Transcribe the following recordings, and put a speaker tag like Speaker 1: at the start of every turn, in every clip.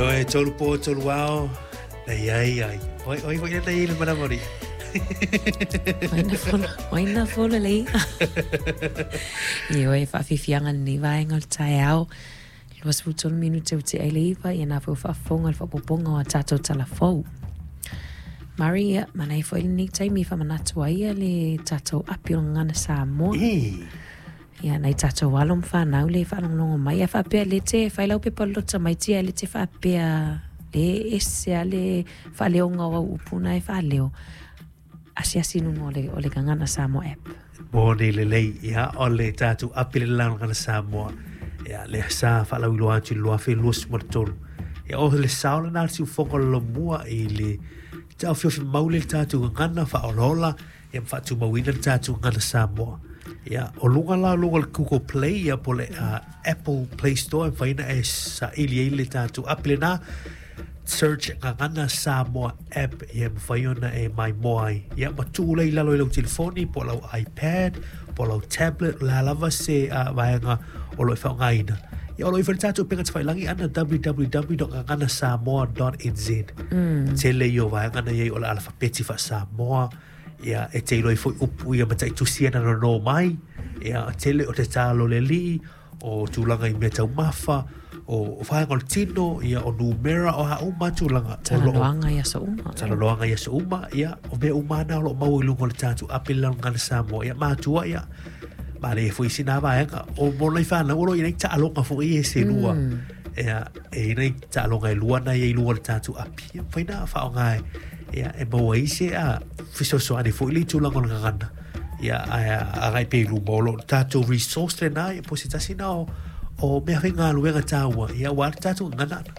Speaker 1: Ioe, tolu po, tolu ao, na iai ai. Oi, oi, oi, na iai le manawa ri.
Speaker 2: Waina folo le i'a. Ioe, faafiafiaga lenei vaega o le taeao. 23 minute ua tea i le 9, ia na foi ua faafofoga i le faaopoopoga o a tatou tala fou. Murray, ia, manaia foi lenei taimi e faamanatu ai ia le tatou api o le Gagana Samoa. Ia, nai tatou alo ma fanau le faalogologo mai, a faapea le te fai lau pepa lota mai tia le te faapea le ese a le faaleoga o au upu na e faaleo. Asiasi i luga o le, o le Gagana Samoa app.
Speaker 1: Moni lelei, ia, o le tatou api le la Gagana Samoa. Ia, lea sa faalauiloa atu i le 2023. Ia, o le sao lena o le siufofoga o le Lomua i le taofiofi mau le tatou gagana faaolaola ia ma faatumauina le tatou gagana Samoa. Ia, o luga la o luga o le Google Play ia po o le Apple Play Store e mafai ona e saili ai le tatou api lena. Search Gagana Samoa app ia e mafai ona e maimoa ai. Ia ma tuu lea i lalo i lau telefoni po o lau iPad po o lau tablet, o le a lava se vaega o lo o e faaaogaina. Ia o lo o i ai foi le tatou upega tafailagi ana www.gaganasamoa.nz. Tele ia o vaega na i ai o le alafapeti faa-Samoa, ia e te iloa ai foi upu ia mataitusi ia na nono mai, ia tele o te talo le alii, o tulaga i mea taumafa, o vaega o le tino, ia o numera, o a uma tulaga.
Speaker 2: Talanoaga i aso uma.
Speaker 1: Talanoaga i aso uma, ia, o mea uma na o lo o maua i luga o le tatou api le Gagana Samoa. Ia matua, ia, manaia foi sina vaega. O mo nai whanau, o lo o i ai nai taaloga foi e se lua. Ia, e i ai nai taaloga e lua na i ai i luga o le tatou api. Ia, mafai na faaaoga e, ia, e maua ai se a fesoasoani foi i le tulaga o le gagana. Ia, ae agai pea i luma o lo o tatou resource lena, ia, po o se tasi lena o, o mea faigaluega taua, ia, aua le tatou gagana ana.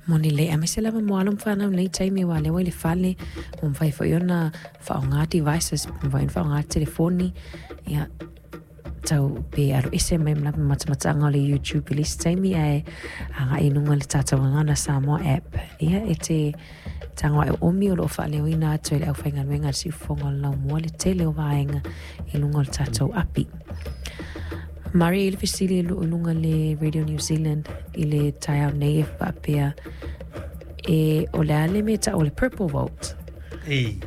Speaker 2: Moni lelei, aemaise lava mo alo ma fanau i lenei taimi aua o lea ua i le fale, ua mafai foi ona faaaoga devices, ua mafai ona faaaoga telefoni, ia, tau pe alu ese mai ma matamataga o le YouTube i le isi taimi ae agai i luga i le tatou Gagana Samoa app. Ia, e te tago ae oomi o lo o faaleoina atu e le aufaigaluega a le Siufofoga o le Laumua le tele o vaega i luga o le tatou api. Murray, i le fesili i luga le Radio New Zealand i le taeao nei e faapea, e, o le a le mea e tau o le Purple Vault?
Speaker 1: Ei.